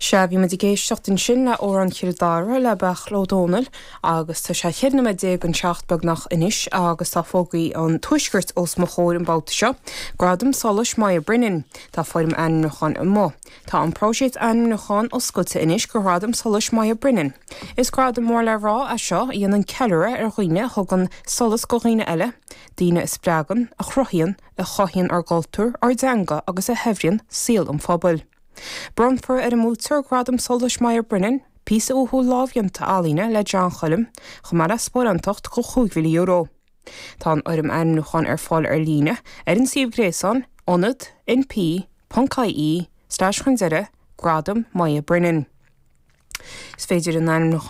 Sea, bhí muid ag éisteacht ansin le Amhrán Chill Dara le Beairtle Ó Domhnaill agus tá sé 14 nóiméad don seacht beagnach anois agus tá fógraí an Tuaiscirt os mo chomhair an babhta seo. Gradam Solais Moya Brennan. Tá foirm ainmniúcháin amuigh. Tá an próiseas ainmniúcháin oscailte anois do Ghradam Solais Moya Brennan. Is gradam mór le rá é seo a dhéanann ceiliúradh ar dhaoine a thugann solas do dhaoine eile, daoine a spreagann, a chruthaíonn, a chothaíonn ár gcultúr, ár dteanga agus a shaibhríonn saol an phobail. Bronnfar ar an mbuaiteoir Gradam Solais Moya Brennan píosa uathúil lámhdhéanta ealaíne le John Choilm, chomh maith le sparáintacht de €5,000. Tá an fhoirm ainmniúcháin ar fáil ar líne ar an suíomh gréasáin ionad np ponc ie slash chun deireadh Gradam Moya Brennan. Is féidir an ainmniúchán.